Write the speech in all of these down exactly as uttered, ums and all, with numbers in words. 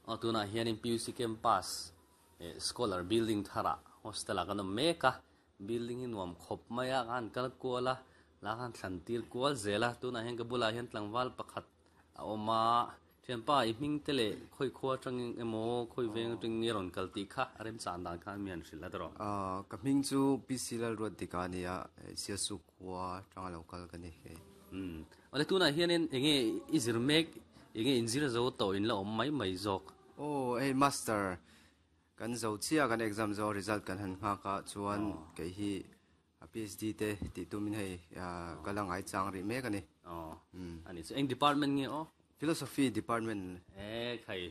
Aw tunah hianin P U C campus eh scholar building tharah hostel ah kan awm mek a building hi nuam khawp mai a khan kal kual a lah khan thlan tir kual zel a tunah hian ka bulah hian tlangval pakhat a awm a thianpa i hming te leh khawi khua atangin emaw khawi veng atangin nge rawn kal tih kha a remchang dan khan mi an hrilh a tawh. Ahh ka hming chu P C Lalruatdika a ni a Siasu khua atanga lo kal ka ni hei. Umm awle tunah hianin enge i zir mek enge inzir zo tawh in la awm mai mai zawk. Aw hei master kan zo chiah kan exam zo result kan han nghak a chuan kei hi a PhD te tih tumin hei ka la ngai chang rih mek a ni. Aw ani chu eng department nge aw? Philosophy department. E khai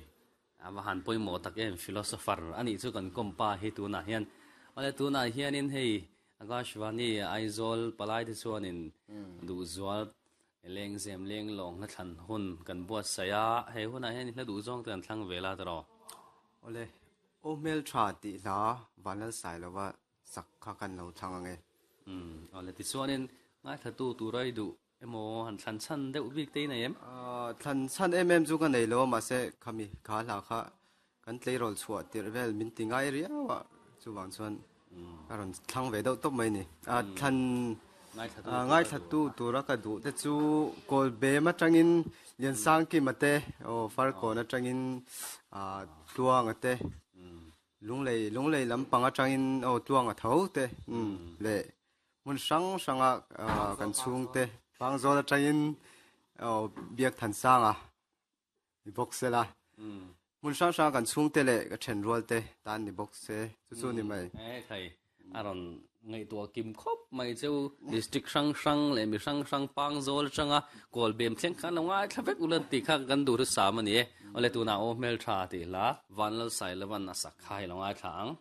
a va han pawimawh tak em philosopher anih chu kan kawmpa hi tunah hian awle tunah hianin hei Akashvani Aizawl palai te chuanin duhzual lengzem leng lawng hla thlan hun kan buatsaih a, he hunah hian hla duh zawng te kan thlang ve la tawh. Awle aw hmel tha tih hla Vanlalsai lova sak kha kan lo thlang ang e. Umm awle tichuanin ngaithla tu tura i duh emaw han thlan chhan deuh bik te i nei em? Ahh thlan chhan em em chu ka nei lo a mahse khami kha hla kha kan tleirawl chhuah tirh vel min ti ngai riau a chuvang chuan ka rawn thlang ve deuh tawp mai ni. Ahh thlan ngaithla tu tura ka duh te chu kawl bem atangin Liansangkima te aw Farkawn atangin ahh Tluanga te Lunglei Lunglei lampang atangin aw Tluanga tho te umm leh hmun hrang hranga kan chhungte Pangzawl atangin aw Biakthansanga ni bawk se la hmun hrang hranga kan chhungte leh ka thenrual te tan ni bawk se chu chu ni mai. E khai a rawn ngaihtuah kim khawp mai cheu district hrang hrang leh mi hrang hrang Pangzawl atanga kawl bem thleng khan lo ngaithla vek ula tih kha kan duh hrisam a ni e. Awle tunah aw hmeltha tih hla Vanlalsailovan a sak kha hi lo ngaithla ang.